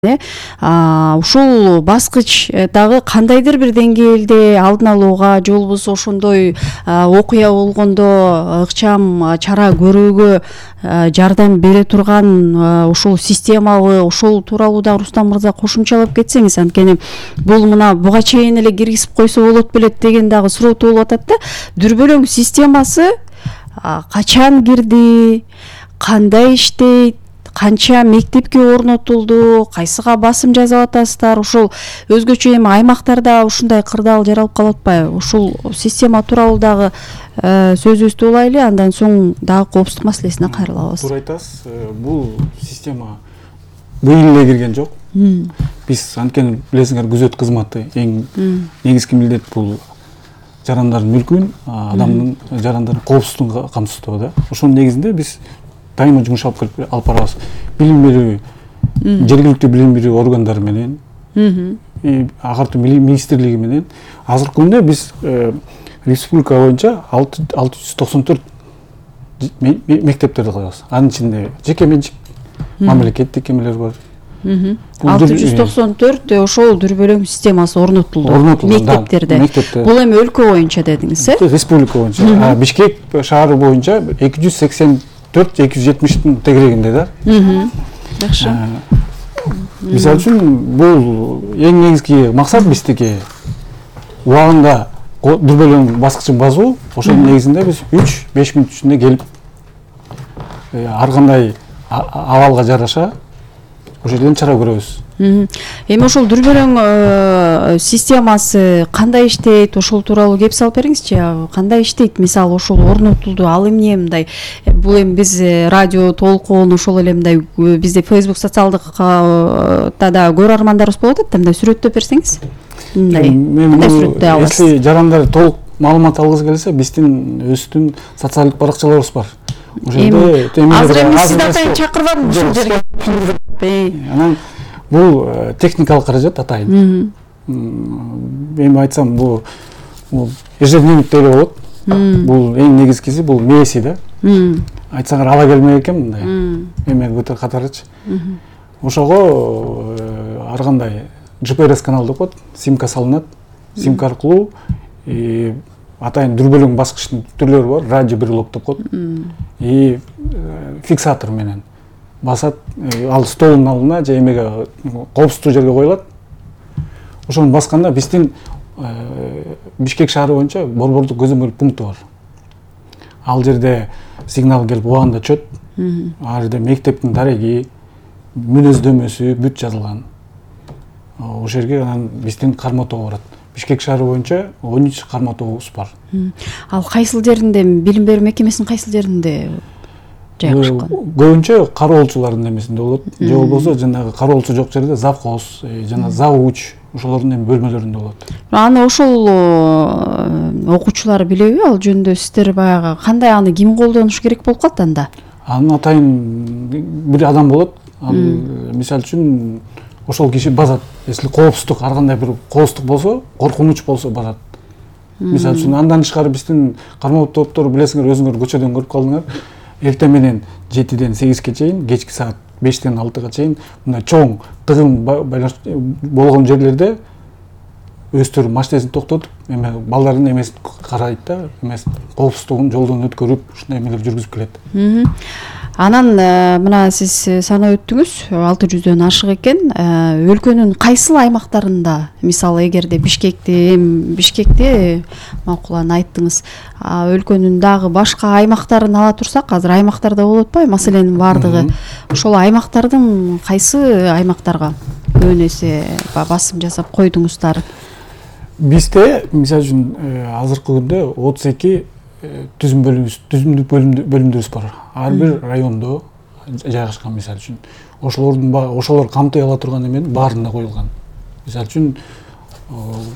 Ушул баскыч дагы кандайдыр бир деңгээлде алдын алууга же болбосо ошондой окуя болгондо ыкчам чара көрүүгө жардам бере турган ушул системабы, ошол тууралуу да Рустам мырза кошумчалап кетсеңиз, анткени бул мына буга чейин эле киргизип койсо болот белет деген дагы суроо туулуп атат да. Дүрбөлөң системасы качан кирди, кандай иштейт, канча мектепке орнотулду, кайсыга басым жасап атасыздар? Ошол өзгөчө эми аймактарда ушундай кырдаал жаралып калып атпайбы? Ушул система тууралуу дагы сөзүбүздү улайлы, андан соң дагы коопсуздук маселесине кайрылабыз. Туура айтасыз. Бул система быйыл эле кирген жок. Биз анткени билесиңер, күзөт кызматы эң негизги милдет бул жарандардын мүлкүн, адамдын жарандардын коопсуздугун камсыздоо да. Ошонун негизинде биз дайыма жумуш алып барабыз. Билим берүү, жергиликтүү билим берүү органдары менен, агартуу министрлиги менен азыркы күндө биз республика боюнча 694 мектептерди кылабыз. Анын ичинде жеке менчик, мамлекеттик эмелер бар. 694 ошол дүрбөлөң системасы орнотулду мектептерде. Бул эми өлкө боюнча дедиңиз, республика боюнча. Бишкек шаары боюнча 284-270 тегерегинде да. Жакшы. Мисалы үчүн бул эң негизги максат биздики убагында дүрбөлөң баскычын басуу. Ошонун негизинде биз 3-5 мүнөт ичинде келип ар кандай абалга жараша ошол жерден чара көрөбүз. Эми ошол дүрбөлөң системасы кандай иштейт, ошол тууралуу кеп салып бериңизчи. Кандай иштейт? Мисалы ошол орнотулду, ал эмне мындай? Бул эми биз радио толкуун ошол эле мындай бизде Facebook социалдык да көрөрмандарыбыз болот да, мындай сүрөттөп берсеңиз. Мындай сүрөттөй алабыз. Если жарандар толук маалымат алгысы келсе, биздин өзүбүздүн социалдык баракчаларыбыз бар. Азыр эми сизди атайын чакырбадым ушул жерге. Анан бул техникалык каражат атайын. Эми айтсам, бул ежедневник деле болот. Бул эң негизгиси бул мээси да. Айтсаңар ала келмек экен мындай. Эме көтөр катарычы. Ошого ар кандай GPS канал деп коет, симка салынат. Симка аркылуу атайын дүрбөлөң баскычтын түрлөрү бар, радиобрелок деп коет. Фиксатор менен басат, ал столдун алдына же эмеге коопсуздуу жерге коюлат. Ошону басканда биздин Бишкек шаары боюнча борбордук көзөмөл пункту бар. Ал жерде сигнал келип убагында чөт. Ал жерде мектептин дареги, мүнөздөмөсү бүт жазылган. Ошол жерге анан биздин карма тобу барат. Бишкек шаары боюнча 13 карма тобубуз бар. Ал кайсыл жеринде, билим берүү мекемесинин кайсыл жеринде жайгашкан? Көбүнчө кароолчулардын эмесинде болот. Же болбосо жанагы кароолчу жок жерде завхоз, жана завуч ошолордун эми бөлмөлөрүндө болот. Аны ошол окуучулар билеби? Ал жөнүндө сиздер баягы кандай, аны ким колдонуш керек болуп калат анда? Аны атайын бир адам болот. Ал мисалы үчүн ошол киши базат. Если коопсуздук, ар кандай бир коопсуздук болсо, коркунуч болсо базат. Мисалы үчүн андан тышкары биздин кармоо топтору билесиңер, өзүңөр көчөдөн көрүп калдыңар. Эртең менен 7-ден 8-ге чейин, кечки саат 5-тен 6-га чейин мындай чоң тыгын болгон жерлерде өздөрү машинесин токтотуп, эме балдардын эмесин карайт да, эмес коопсуздугун жолдон өткөрүп, ушундай эмелер жүргүзүп келет. Анан мына сиз санап өттүңүз, 600дөн ашык экен. Өлкөнүн кайсыл аймактарында, мисалы эгерде Бишкекте макулан айттыңыз, өлкөнүн дагы башка аймактарын ала турсак, азыр аймактарда болуп атпайбы маселенин баардыгы? Ошол аймактардын кайсы аймактарга көбүн эсе басым жасап койдуңуздар? Бизде мисалы үчүн азыркы күндө 32 түзүмдүк бөлүмдөрүбүз бар. Ар бир райондо жайгашкан, мисалы үчүн. Ошолор камтый ала турган эмени баарында коюлган. Мисалы үчүн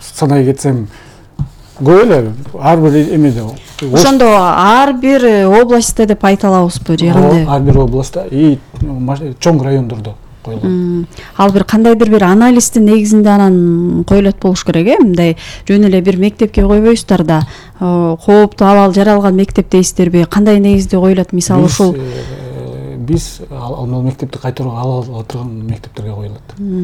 санай кетсем, көп эле ар бир эмеде. Ошондо ар бир областта деп айта алабызбы же кандай? Ар бир областта чоң райондордо коюлган. Ал бир кандайдыр бир анализдин негизинде анан коюлат болуш керек, мындай жөн эле бир мектепке койбойсуздар да, кооптуу абал жаралган мектеп дейсиздерби? Кандай негизде коюлат? Мисалы ошол биз ал мектепти кайтарууга ала турган мектептерге коюлат.